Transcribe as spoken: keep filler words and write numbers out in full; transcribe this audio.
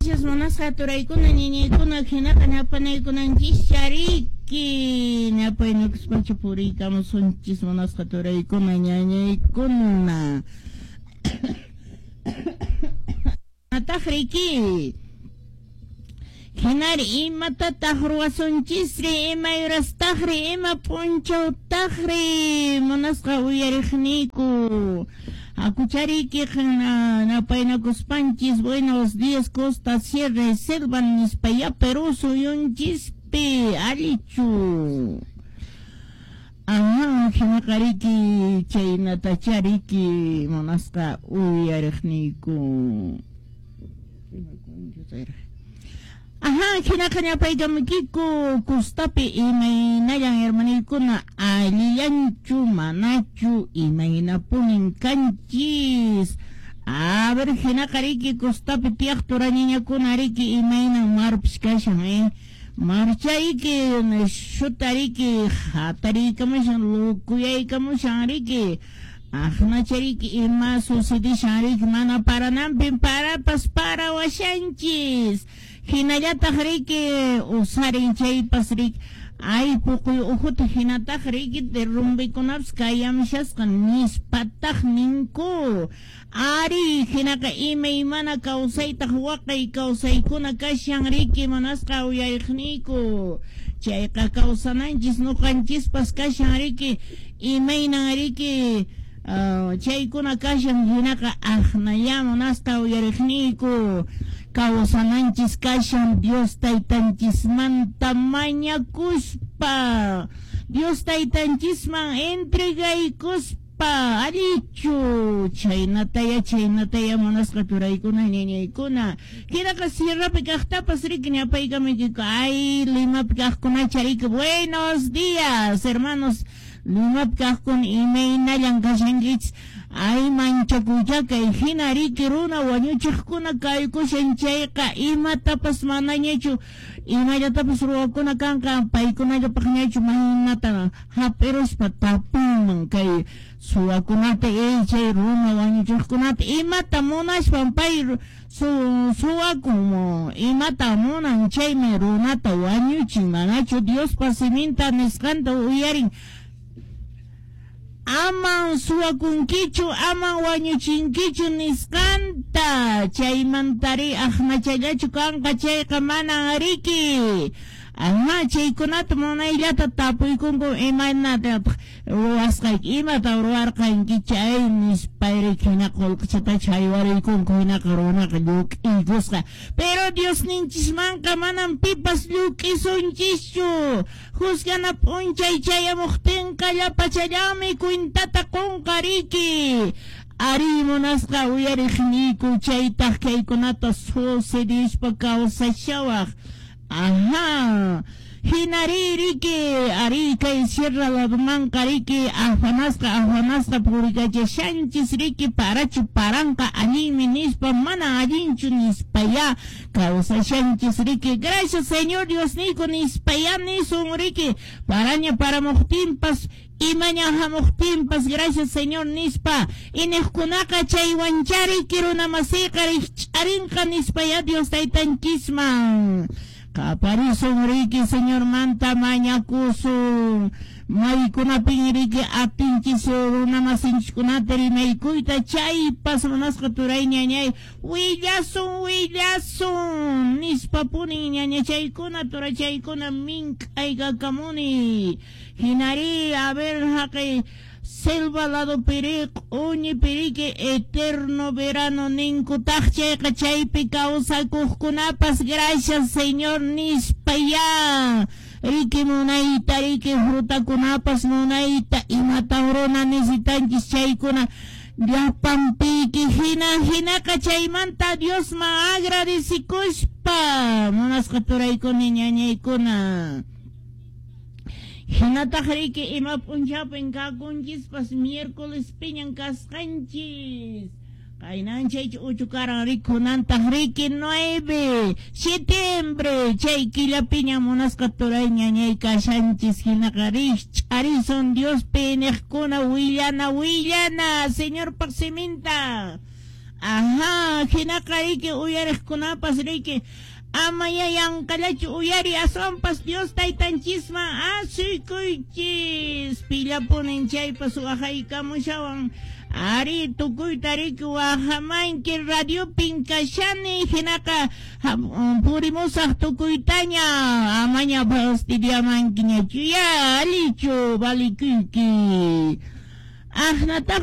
Gracias munasqa turaykuna ñiñaykuna hinaqa ñapanaykunanchis chariki ñapaynakuspacha puriykamusunchis munasqa turaykuna ñañaykuna. Ataqriki hinari imatataq ruwasunchisri ima yurastaqri ima p'unchawtaqri munasqa uyariqniyku. Akuchariki napaynakuspanchis buenos días costa, sierra y selva nispaya Perú suyunchispi allichu. Ajá, hinaqariki chaynatachariki munasqa uyariqniyku. Ajá, hinaqa ñapaykamukiku kustapi imaynallan hermaniykuna allillanchu manachu imaynapunin kanchis. A ver, hinaqa riki kustapi tiyaq turañiñakuna riki imaynan marpis kashan eh. Marchayki shutariki hatariykamushan lukuyaykamushan riki. Aqnachariki ima sucedishan riki mana parananpin parapas parawashanchis. Hinallataq riki usarin chaypas riki ay puquy uhuta hinataq riki derrumbikunapas kayamshasqa nispataq ninku. Ari hinaqa imaymana kawsaytaq waqay kawsaykuna kashan riki munasqa uyariqniyku. Chayqa kawsananchis nuqanchispas kashan riki imaynan riki Uh, chaykuna kashan hinaqa aqnaya munasqa uyariqniyku. Kawsananchis kashan Dios taytanchismanta mañakuspa, Dios taytanchisman entregaykuspa allichu. Chaynataya chaynataya munasqa turaykuna ñañaykuna. Hinaqa sierrapi kaqtapas riki ñapaykamuykiku. Ay Limapi kaqkunacha riki buenos días hermanos Limapi kaqkuna imaynallan kashankichis. Ay manchakuchakay hina riki runa wañuchiqkuna kaykushan chayqa imatapas manañachu imallatapas ruwakuna kanqa paykunallapaqñachu maynata hap'iruspa tapunman kay suwakunata chay runa wañuchiqkunata imata munaspan pay su suwakun imata munan chaymi runata wañuchin manachu Diospa siminta nisqanta uyarin. Aman suwakunkichu, aman wañuchinkichu nisqanta. Chaymantari aqnachallachu kanqa chayqa manan riki. Ajá, chaykunata munayllata tapuykunku imaynata ruwasqayki imata ruwarqanki chay nispayri hina qullqichatacha haywariykunku hinaqa runaqa lluk'iykusqa. Pero Diosninchismanqa manan pipas lluk'isunchischu. Juzgana p'unchay chayamuqtinqa llapachallanmi cuentata qunqa riki. Ari munasqa uyariqniyku chaytaq kaykunata sucedispa kawsashawaq. Ajá, hinari riki ari kay sierra ladumanqa riki afanasqa afanasqa purikachashanchis riki parachu paranqa allinmi nispa mana allinchu nispaya kawsashanchis riki. Gracias Señor Diosniyku nispaya nisun riki paraña paramuqtinpas imaña hamuqtinpas gracias Señor nispa iniqkunaqa chaywanchariki runamasiyqa rikch'arinqa nispaya Dios taytanchisman. Kaparisun riki Señor manta mañakusun maykunapin riki atinchis runamasinchikkunata rimaykuyta chaypas munasqa turay ñañay willasun willasun nispapunin ñañachaykuna turachaykuna mink'aykakamuni. Hinari a ver haqay selva lado piriq uñi piriki eterno verano ninkutaq chayqa chaypi kawsakuqkunapas gracias Señor nispaya riki munayta riki frutakunapas munayta imatan runa necesitanchis chaykuna llapanpiki hina hinaqa chaymanta Diosman agradecikuspa munasqa turaykuna ñañaykuna. Hinataq riki ima p'unchawpin kakunchispas miércoles piñan kasqanchis. Qaynanchay uchu karan rikunantaq riki nueve septiembre chay killapiña munasqa turay ñañay kashanchis hinaqa rikch'arisun Diospi niqkuna willana willana Señorpaq siminta. Aha, hinaqa riki uyariqkunapas riki ama ya yanqallachu uyari aswanpas Dios taytanchisman asuykuychis pillapunin chaypas waqaykamushawan ari tukuyta riki waqamanki radiopin kashani hinaqa purimusaq tukuytaña amaña fastidiamankiñachu ya allichu valikuyki aqnataq.